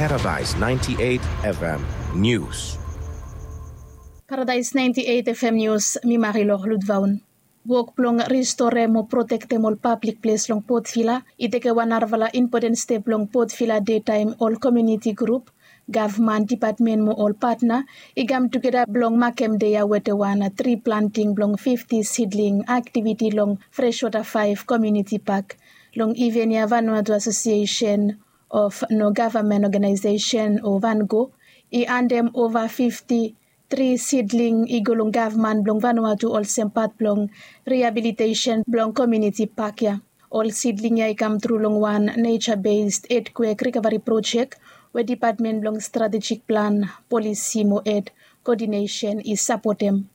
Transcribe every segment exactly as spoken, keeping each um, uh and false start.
Paradise ninety-eight F M News. Paradise ninety-eight F M News, mi Marilor Ludvaun. Wok blong ristorem o protektem ol pablik ples long Port Vila i tekem wan narafala impoten step long Port Vila dei taem ol komuniti grup, gavman dipatmen mo ol patna i kam tugeta blong makem dei ya wetem wan tri planting blong fifti sidling aktiviti long Freshwater Five Community Park. Long iven ya Vanuatu Asosiesen of No Gavman Ogenaesesen o Vango i handem ova fifti tri sidling i go long gavman blong Vanuatu olsem pat blong riabilitesen blong komuniti pak ya. Ol sidling ya i kam tru long wan neja bes etkwek rikavari projek we dipatmen blong stratejik plan, polisi mo ed koodinesen i sapotem.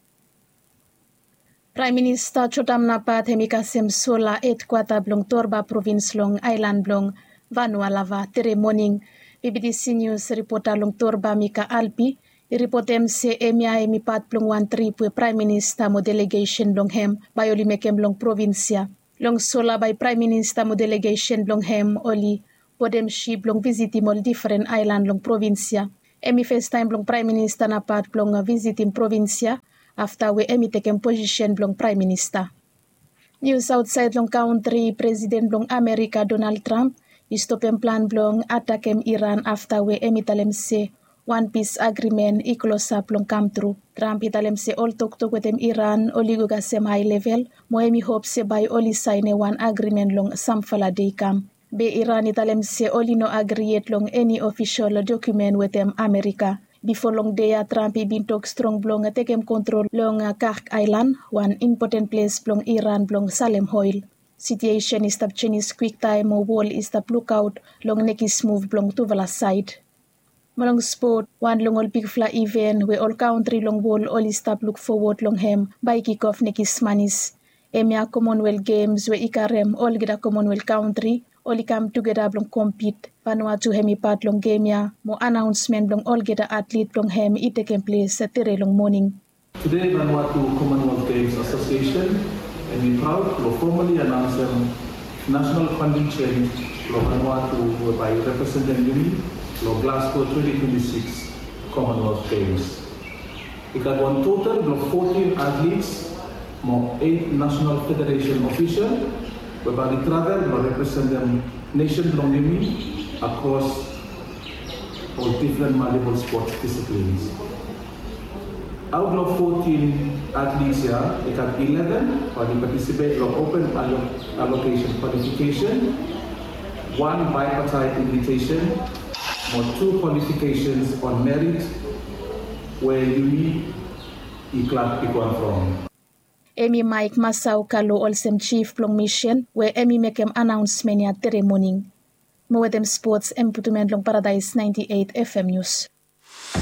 Praem Minista Jotam Napat hem i kasem sola edkwata blong Torba provins long aelan blong Vanualava tere moning. B B T C Nius ripota long Torba Mika Alpi i ripotem se hemia hem i pat blong wan trip we Praem Minista mo delegesen blong hem bae oli mekem long provins ya. Long sola bae Praem Minista mo delegesen blong hem oli bodem sip blong visitim ol difren aelan long provins ya. Hem i festaem blong Praem Minista Napat blong visitim provins ya afta we hem i tekem posisen blong Praem Minista. Nius aotsaed long kantri, Presiden blong Amerika Donald Trump i stopem plan blong atakem Iran afta we hem i talem se wan pis agrimen i klosap blong kamtru. Trump i talem se ol toktok wetem Iran oli go kasem hae level mo hem i hop se bae oli saenem wan agrimen long samfala dei i kam. Be Iran i talem se oli no agri yet long eni ofisol dokumen wetem Amerika. Bifo long dei ya Trump i bin tok strong blong tekem kontrol long Kark aelan, wan impoten ples blong Iran blong salem oel. Sitiesen i stap jenis kwiktaem mo wol i stap lukaot long nekis muv blong tufala saed. Mo long spot, wan long ol bigfala iven we ol kantri long wol oli stap lukfowod long hem bae i kikof nekis manis. Hemia Commonwealth Games we i karem olgeta Commonwealth kantri oli kam tugeta blong kompit. Vanuatu hem i pat long gem ya mo anaonsmen blong olgeta atlit blong hem i tekem ples tere long moning. Tede Vanuatu Commonwealth Games Association hem i praod blong fomali anaonsem nasonal kontingjen blong Vanuatu we bae i representem yumi long Glasgow twenti twenti sikis Commonwealth Games. I gat wan total blong fotin atlits mo eit nasonal federesen ofisol we bae oli travel blong representem nesen blong yumi akros ol difren maltipol spots disiplins. Aot long fotin atlits ya, i gat ileven bae oli patisipet long open alokesen kwalifikesen, wan baepatai invitesen mo tu kwalifikesens on merit we yumi i glad bigwan from. Hem i Maek Masau Kalo olsem jif blong misen we hem i mekem anaonsmen ya tere moning. Mo wetem spots hem putum en long Paradaes naenti eit F M Nius.